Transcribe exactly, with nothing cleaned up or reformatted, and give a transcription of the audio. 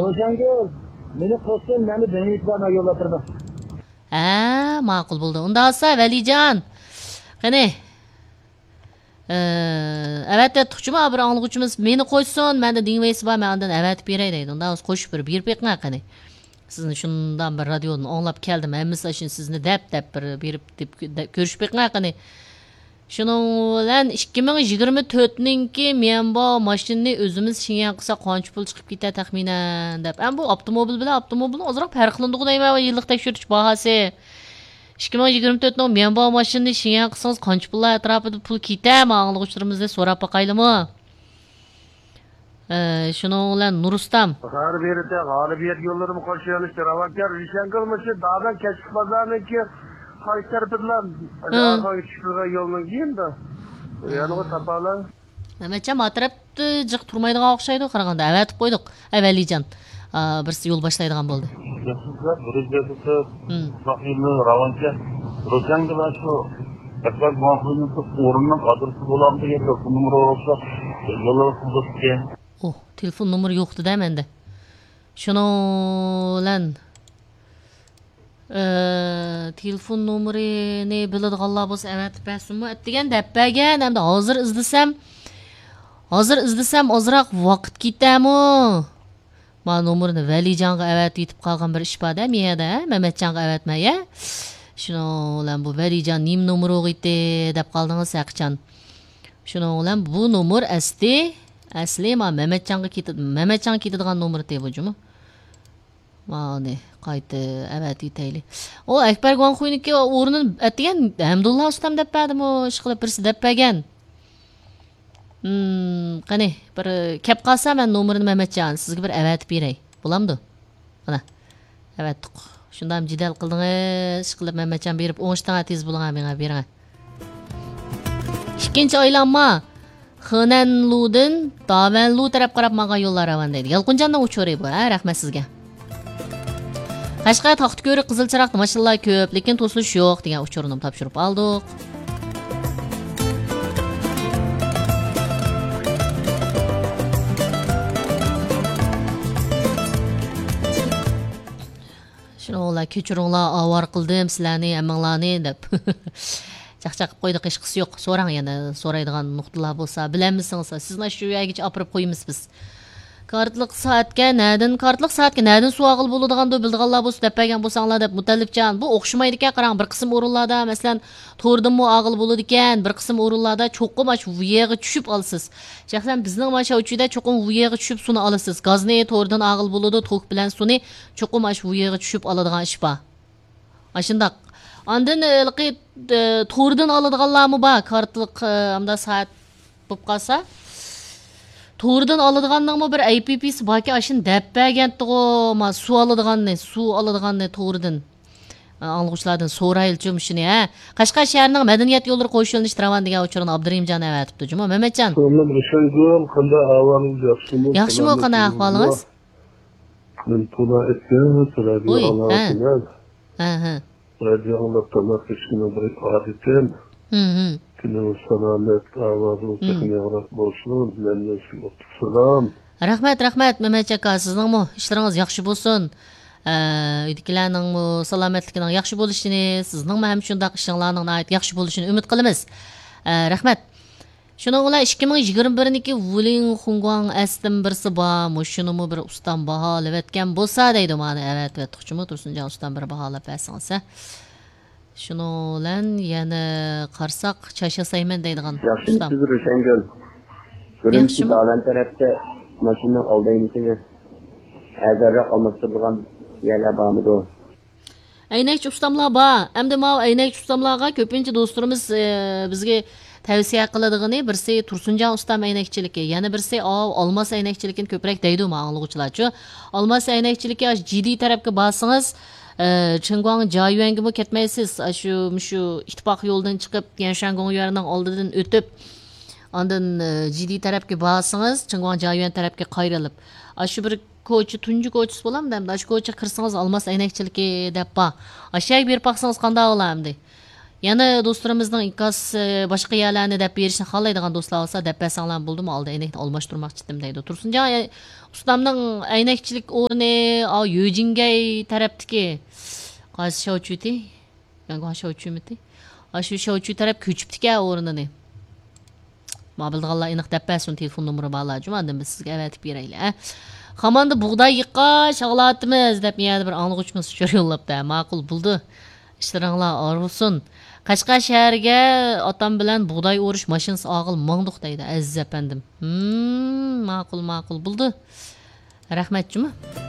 روشەنگۈل، مېنى قوشسۇن، مەن دېڭىزدا يوللاپ بېرىمەن. ھە، ماقۇل بولدى. ئۇنداق بولسا، ۋەلىجان، قېنى، ئە، ئەۋەتىۋەتتۇقچىمۇ، بىر ئاڭلىغۇچىمىز مېنى قوشسۇن، مەندە دىڭ ۋەيسى بار، مەن ئاندىن ئەۋەتىپ بېرەي دەيدۇ. ئۇنداق بولسا قوشۇپ بېرىپ، بېرىپ بېقىڭ قېنى. سىزنى شۇنداق بىر رادىيودىن ئاڭلاپ كەلدىم، ھەممىسى ئاشۇ سىزنى دەپ، دەپ بىر بېرىپ دەپ كۆ-، دە-، كۆرۈشۈپ بېقىڭ قېنى. شۇنىڭ بىلەن ئىككى مىڭ يىگىرمە تۆتنىڭكى ميەنبا ماشىنىنى ئۆزىمىز شېڭيەن قىلساق قانچە پۇل چىقىپ كېتەر تەخمىنەن دەپ. ئەمما بۇ ئاپتوموبىل بىلەن ئاپتوموبىلنىڭ ئازراق پەرقلىنىدىغۇ دەيمەن، يىللىق تەكشۈرتۈش باھاسى. ئىككى مىڭ يىگىرمە تۆتنىڭ ميەنبا ماشىنىنى شېڭيەن قىلسىڭىز قانچە پۇللار ئەتراپىدا پۇل كېتەر؟ مانا ئاڭلىغۇچىلىرىمىزنى سوراپ باقايلىمۇ؟ ئە، شۇنىڭ بىلەن نۇرۇستام. غالىبىيەت، غالىبىيەت يوللىرىمۇ قوشۇۋېلىشتى راۋانكار. رىشەنگۈل مۇشۇ دادان كەچلىك بازارنىڭكى قايسى تەرىپىدىلا؟ ھە. ئارقىغا چۈشۈپ تۇرغان يولنىڭ كېيىندا. يەنىغۇ تاپالا. مەمەتجان، ما تەرەپتە جىق تۇرمايدىغان ئوخشايدۇ قارىغاندا. ئەۋەتىپ قويدۇق. ئەي، ۋەلىجان. ئا، بىرسى يول باشلايدىغان بولدى. ياخشى، بىر يۈز يەتمىش تۆت. ھىم. ئۇزاق يولنى راۋانكە. رىشەنگۈل شۇ ئەكبەر گۇاڭخۇينىڭ ئورنىنىڭ ئادرېسى بولامدۇ يا تېلېفون نومۇرى بولسا يوللىرى قىزىقكەن. ئوھ، تېلېفون نومۇرى يوق دېدى مەندە. شۇنىڭ بىلەن، ئە، تېلېفون نومۇرىنى بىلىدىغانلار بولسا ئەۋەتىپ بەرسۇنمۇ؟ ئەتىگەن دەپ بەرگەن، ئەمدى ھازىر ئىزدىسەم، ھازىر ئىزدىسەم ئازراق ۋاقىت كېتەمۇ؟ ما نومۇرنى ۋەلىجانغا ئەۋەتىۋېتىپ قالغان بىر ئىش بار-دە، مىيەدە، ھە؟ مەمەتجانغا ئەۋەتمەي، ھە؟ شۇنىڭ بىلەن بۇ ۋەلىجان نېمە نومۇر ئوغىتى دەپ قالدىڭىز ھەقىچان. شۇنىڭ بىلەن بۇ نومۇر ئەسلى، ئەسلى ما مەمەتجانغا كېتىدۇ، مەمەتجانغا كېتىدىغان نومۇر تېۋى جۇمۇ. مانى قايتا ئەۋەتىۋېتەيلى. ئۇ ئەكبەر گۇاڭخۇينىڭكى ئورنىنى ئەتىگەن ھەمدۇللا ئۇستام دەپ بەردىمۇ، ئىشقىلىپ بىرسى دەپ بەرگەن. ھىم، قېنى، بىر كەپ قالسا مەن نومۇرىنى مەمەتجان، سىزگە بىر ئەۋەتىپ بېرەي. بولامدۇ؟ مانا، ئەۋەتتۇق. شۇنداق جېدەل قىلدىڭىز، ئىشقىلىپ مەمەتجان بېرىپ ئوڭشىتىڭ، تېز بولۇڭ، مېڭە بېرىڭ. ئىككىنچى ئايلانما خېنەنلۇدىن داۋەنلۇ تەرەپ قاراپ ماڭغان يوللار راۋان دەيدۇ. يالقۇنجاننىڭ ئۇچۇرى بۇ، ھە، رەھمەت سىزگە. قەشقەر، تاختىكۆرۈك، قىزىل چىراغ ماشىنىلار كۆپ، لېكىن توسۇلۇش يوق دېگەن ئۇچۇرنىمۇ تاپشۇرۇپ ئالدۇق. شۇنىڭ بىلەن كەچۈرۈڭلار، ئاۋارە قىلدىم سىلەرنى، ھەممىڭلارنى دەپ. چاقچاق قىلىپ قويدۇق، ھېچقىسى يوق. سوراڭ يەنە، سورايدىغان نۇقتىلار بولسا، بىلەلمىسىڭىز، سىزنى ئاشۇ يەرگىچە ئاپىرىپ قويىمىز بىز. كارتلىق سائەتكە نەدىن، كارتلىق سائەتكە نەدىن سۇ ئالغىلى بولىدىغاندۇ، بىلىدىغانلار بولسا دەپ بەرگەن بولساڭلار دەپ، مۇتەللىپجان، بۇ ئوخشىمايدىكەن، قاراڭ، بىر قىسىم ئورۇنلاردا، مەسىلەن، توردىنمۇ ئالغىلى بولىدىكەن، بىر قىسىم ئورۇنلاردا چوقۇم ئاشۇ ۋۇيېغا چۈشۈپ ئالىسىز. شەخسەن بىزنىڭ مانا شاۋچۈدە چوقۇم ۋۇيېغا چۈشۈپ سۇنى ئالىسىز. گازنى توردىن ئالغىلى بولىدۇ، توك بىلەن سۇنى چوقۇم ئاشۇ ۋۇيېغا چۈشۈپ ئالىدىغان ئىش بار. ئاشۇنداق. ئاندىن، ھېلىقى، ئە، توردىن ئالىدىغانلارمۇ بار، كارتلىق، ئە، ئامدا سائەت بولۇپ قالسا. توردىن ئالىدىغاننىڭمۇ بىر ئەي پى پىسى باركەن، ئاشۇنى دەپ بەرگەنتىغۇ، ما، سۇ ئالىدىغاننى، سۇ ئالىدىغاننى توردىن. ئە، ئاڭلىغۇچىلاردىن سورايلىچۇ مۇشۇنى، ھە؟ قەشقەر شەھىرىنىڭ مەدەنىيەت يوللىرى قويۇشۇۋېلىنىشى راۋان دېگەن ئۇچۇرنى ئابدۇرېھىمجان ئەۋەتىپتۇ جۇمۇ. مەمەتجان. سالام رىشەنگۈل، قانداق ئەھۋالىڭىز، ياخشىمۇ؟ ياخشىمۇ، قانداق ئەھۋالىڭىز؟ مەن تولا ئەتكەن سىلەرگە ھە. ھە، ھە. رادىيو ئاڭلاپ تاماق يېيىشنىڭ بىر ئادىتىم. ھىم، ھىم. كۈنىڭىز سالامەت، ئاۋازىڭىز ھىم. تېخىمۇ ياڭراق بولسۇن. مەندىن سىزگە ئوتلۇق سالام. رەھمەت، رەھمەت، مەمەتجان ئاكا، سىزنىڭمۇ ئىشلىرىڭىز ياخشى بولسۇن. ئە، ئۆيدىكىلەرنىڭمۇ سالامەتلىكىنىڭ ياخشى بولۇشىنى، سىزنىڭمۇ ھەم شۇنداق ئىشىڭلارنىڭ ناھايىتى ياخشى بولۇشىنى ئۈمىد قىلىمىز. ئە، رەھمەت. شۇنىڭ بىلەن ئىككى مىڭ يىگىرمە بىرنىڭكى ۋۇلىڭ خۇڭگۇاڭ ئەستىن بىرسى بار. مۇشۇنىمۇ بىر ئۇستام باھالىۋەتكەن بولسا دەيدۇ، مانا ئەۋەتىۋەتتۇقچىمۇ، تۇرسۇنجان ئۇستام بىر باھالاپ بەرسىڭىز، ھە. شۇنىڭ بىلەن يەنە قارىساق، چاچ ياسايمەن دەيدىغان ئۇستام. ياخشىمۇسىز رىشەنگۈل؟ ئۈرۈمچى ياخشىمۇ؟ داۋەن تەرەپتە ماشىنىنىڭ ئالدى ئەينىكىنى ئەرزانراق ئالماشتۇرىدىغان يەرلەر بارمىدۇ؟ ئەينەكچى ئۇستاملار بار. ئەمدى ماۋۇ ئەينەكچى ئۇستاملارغا كۆپىنچە دوستلىرىمىز، ئە، بىزگە تەۋسىيە قىلىدىغىنى، بىرسى تۇرسۇنجان ئۇستام ئەينەكچىلىكى، يەنە بىرسى ئاۋۇ ئالماس ئەينەكچىلىكىنى كۆپرەك دەيدۇ ما ئاڭلىغۇچىلارچۇ. ئالماس ئەينەكچىلىكى ئاشۇ جىدى تەرەپكە بارسىڭىز، ئە، چىڭگۇاڭ جايۈەنگىمۇ كەتمەيسىز. ئاشۇ، مۇشۇ ئىتتىپاق يولىدىن چىقىپ، يەنشەن گوڭيۈەننىڭ ئالدىدىن ئۆتۈپ، ئاندىن، ئە، جىدى تەرەپكە بارسىڭىز، چىڭگۇاڭ جايۈەن تەرەپكە قايرىلىپ، ئاشۇ بىر كوچا، تۇنجى كوچىسى بولامدۇ ئەمدى؟ ئاشۇ كوچىغا كىرسىڭىز، ئالماس ئەينەكچىلىكى دەپ بار. ئاشۇ يەرگە بېرىپ باقسىڭىز قانداق بولا ئەمدى؟ يەنە دوستلىرىمىزنىڭ ئىنكاس، ئى، باشقا يەرلەرنى دەپ بېرىشنى خالايدىغان دوستلار بولسا، دەپ بەرسەڭلار بولدىمۇ؟ ئالدى ئەينەكنى ئالماشتۇرماقچىدىم دەيدۇ. تۇرسۇنجان ئۇستامنىڭ ئەينەكچىلىك ئورنى، ئا، يۆجىنگەي تەرەپتىكى قايسى شاۋچۈتى؟ يەنگۇ شاۋچۈمىتى؟ ئاشۇ شاۋچۈ تەرەپ كۆچۈپتىكەن ئورنىنى. ما بىلىدىغانلار ئېنىق دەپ بەرسۇن، تېلېفون نومۇرى بارلار جۇما، ئاندىن بىز سىزگە ئەۋەتىپ بېرەيلى، ھە. خاماندا بۇغداي يىغقاچ ئاغلاتىمىز دەپ يەنە بىر ئاڭلىغۇچىمىز ئۇچۇر يوللاپتۇ. ھە، ماقۇل، بولدى. ئىشلىرىڭلار ئارۇسۇن. قەشقەر شەھەرگە ئاتام بىلەن بۇغداي ئورۇش ماشىنىسى ئارقىلىق ماڭدۇق دەيدۇ، ئەزىز ئەپەندىم. ھىم، ماقۇل، ماقۇل، بولدى. رەھمەت جۇما.